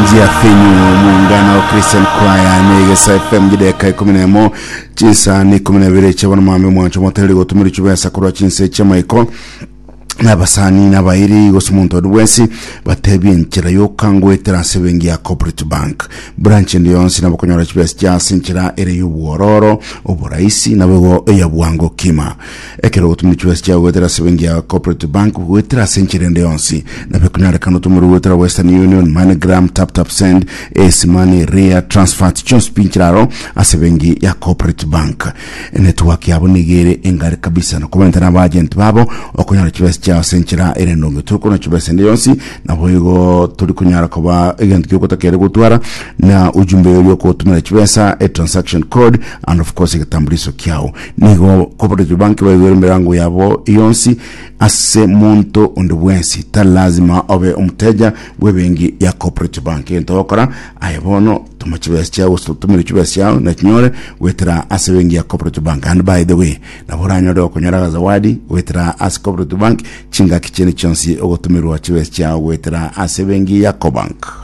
Njia finyu muungano Christian Choir negesa FM gideka ikumi na emo chinsa ni ikumi na ibere chia bono mambe mwancho motereri gotumira chibesa korwa chinse chiamaiko nabasani nabairi gose omonto onde bwensi batebie enchera yokangoetera ase ebenki ya Cooperative Bank branch ende yonsi nabo okonyora chibesa chia ase enchera ere y'obwororo oboraisi nabo igo eya bwango kima Ekero ogotumia chibesa chiao goetera ase ebenki ya Cooperative Bank goetera ase enchera ende yonsi, nabo ekonyarekana otomorwe goetera Western Union, MoneyGram, TapTap Send, Ace Money, Ria, Transfert, chionsi pi nchera aro ase ebenki ya Cooperative Bank. Enetwork yabo nigo ere engare kabisa na komentana na abaagent babo okonyora chibesa chiao ase enchera ere endonge. Tori konyora chibesa ende yonsi nabo igo tori konyara koba egento giogotakere gotwara na ujumbe oria okotumera chibesa, e transaction code and of course egetambuliso kiao. Nigo Cooperative Bank baigwere emerango yabo yonsi ase monto onde bwensi. Tari lazima obe omoteja bw'ebenki ya Cooperative Bank. Egento ogokora aye bono toma chibesa chiao gose otomere chibesa chiao nachinyore goetera ase ebenki ya Cooperative Bank. And by the way, nabo oranyore okonyora agazawadi goetera ase Cooperative Bank chingaki chiende chionsi ogotomerwa chibesa chiao goetera ase ebenki ya Cobank.